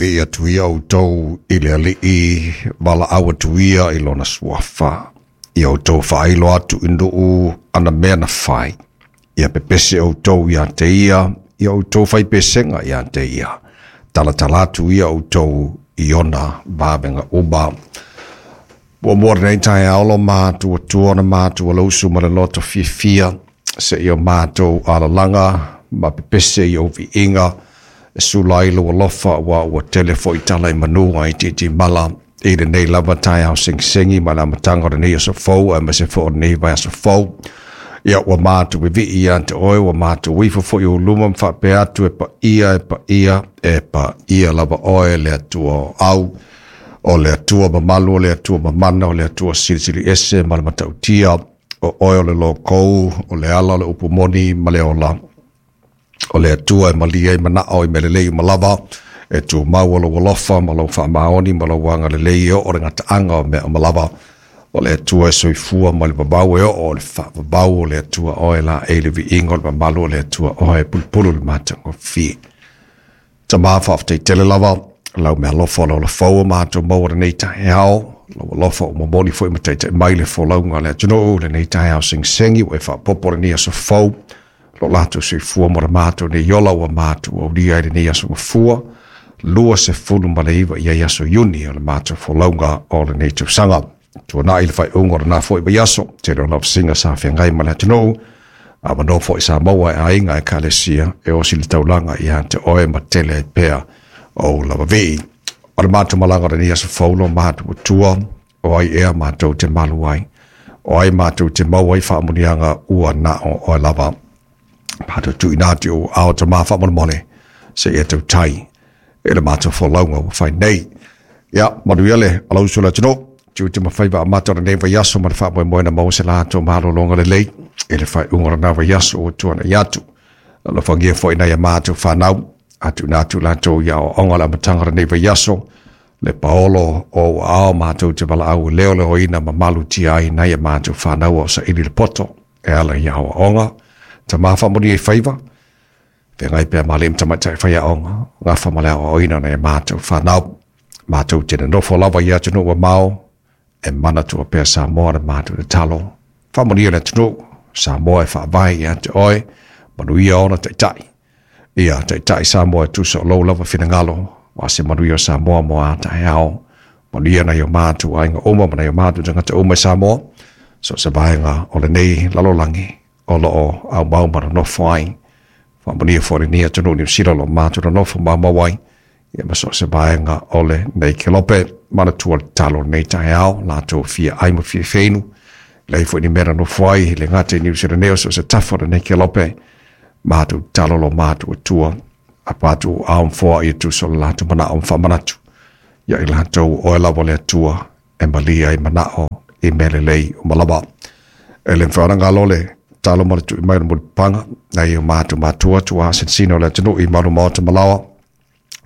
Vivii atu ia outou i le Alii, valaau atu ia i lona suafa. Ia outou faailo atu i nuu ana mea na fai. Ia pepese outou ia te ia, ia outou faipesega ia te ia. Talatala atu ia outou i ona vavega uma. Ua mua lenei taeao lo matou Atua na matou alausu ma le loto fiafia seia o matou alalaga ma pepese i ou viiga e sula ai lou alofa ua ua tele foi tala i manu ai titimala i lenei lava taeao segisegi ma le amataga o lenei aso fou aemaise foi o lenei vaiaso fou. Ia ua matou vivii ia te oe, ua matou ifo foi i ou luma ma faapea atu e paia, e paia, e paia lava oe le Atua o au, o le Atua mamalu, o le Atua mamana, o le Atua silisili ese ma le matautia, o oe o le lokou, o le ala o le upu moni ma le ola. O le Atua e malie ai manao i mea lelei uma lava, e tumau o lou alofa ma lou faamaoni ma lou agalelei e oo le gataaga o mea uma lava. O le Atua e soifua mai le vavau e oo o le faavavau o le Atua oe laei le viiga o le mamalu o le Atua oe e pulupulu le matagofie. Tama faafetai tele lava lau mealofa o le ola fou o matou maua lenei taeao, lau alofa ua momoli foi ma taitai mai le folauga a le atunuu lenei taeao segisegi ua e faaopoopo lenei aso fou lo latou soifua mo le matou nei ola ua matou aulia ai lenei aso gafua 29 i ai aso Iuni o le matou folauga o lenei tausaga. Tuanai le faaiuga o lena foi vaiaso, tele o lavasiga sa feagai ma le atunuu, avanoa foi sa maua e aiga ekalesia e osi le taulaga ia te oe ma tele ai pea ou lava vii. O le matou malaga o lenei aso fou lo matou Atua, o ai ea matou te malu ai, o ai matou te maua ai faamuniaga ua na o oe lava. Matou tuuina atu i ou ao tama faamolemole, seia tautai i le matou folauga ua fai nei. Ia, manuia le alausu o le atunuu, tiute ma faiva amata o lenei vaiaso ma le faamoemoe na maua se latou malologa lelei i le faaiuga o lena vaiaso ua tuanai atu. Alofagia foi nai a matou fanau, a tuuina atu latou i aoaoga o le amataga o lenei vaiaso, le paolo o ou aao matou te valaau e leoleoina ma malutia ai nai a matou fanau o saili le poto e ala i aoaoga. Tama faamanuia i faiva, feagai pea ma alii ma tamaitai faiaoga, gafa ma le aoaoina o nai a matou fanau. Matou te nonofo lava i atunuu mamao, e manatua pea Samoa le matou tatalo. Faamanuia le atunuu, Samoa e faavae ia te oe, manuia ona taitai. Ia taitai Samoa e tusa o lou lava finagalo, aua se manuia o Samoa mo a taeao. Manuia nai o matou aiga uma ma nai o matou tagata uma i Samoa, so o se vaega o lenei lalolagi o lo o aumau ma nonofo ai. Faamanuia foi lenei atunuu Niu Sila o lo o matou nonofo maumau ai, ia ma so o se vaega o lenei kelope. Manatua le tatalo o lenei taeao, latou fia ai ma fia feinu, leai foi ni mea na nofo ai, le gata i Niu Sila nei o so o se tafa o lenei kelope. Matou tatalo lo matou Atua, apa atu o ao ma foai e tusa o le latou manao ma faamanatu ia i latou o oe lava le Atua e malie ai manao i mea lelei uma lava. E le mafai ona galo le tatalo ma le tui mai o le mulipapaga nai o matou matua tuā sinosino o le atunuu i malu maota ma laoa,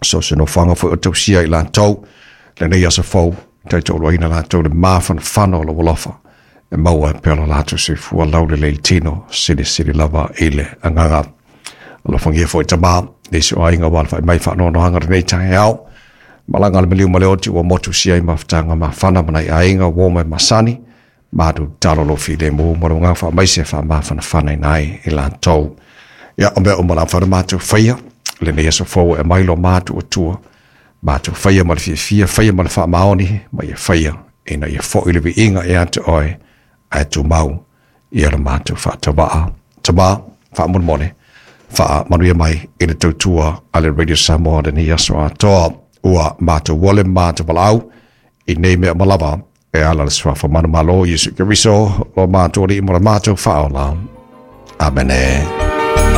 so o se nofoaga foi o tausia i latou lenei aso fou, taitoaluaina latou le mafanafana o lou alofa e maua ai pea lo latou soifua laulelei i le tino, silisili lava i le agaga. Alofagia foi tama, nisi o aiga ua alafai mai faanoanoaga lenei taeao, malaga le maliu ma le oti ua motusia ai mafutaga mafana ma nai aiga uo mai masani, matou tatalo lou filemu ma lou agaga faamaise e faamafanafanaina ai i latou. Ia, o mea uma la mafai ona matou faia lenei aso fou e aumai lo matou Atua, matou faia ma le fiafia, faia ma le faamaoni, ma ia faia ina ia foi le viiga ia te oe, ae tumau ia le matou faatauvaa. Tama, faamolemole, faamanuia mai i le tautua a le Radio Samoa lenei aso atoa. Ua matou uole ma matou valaau i nei mea uma lava e ala le suafa manumalo o Iesu Keriso, lo matou Alii ma lo matou Faaola. Amene.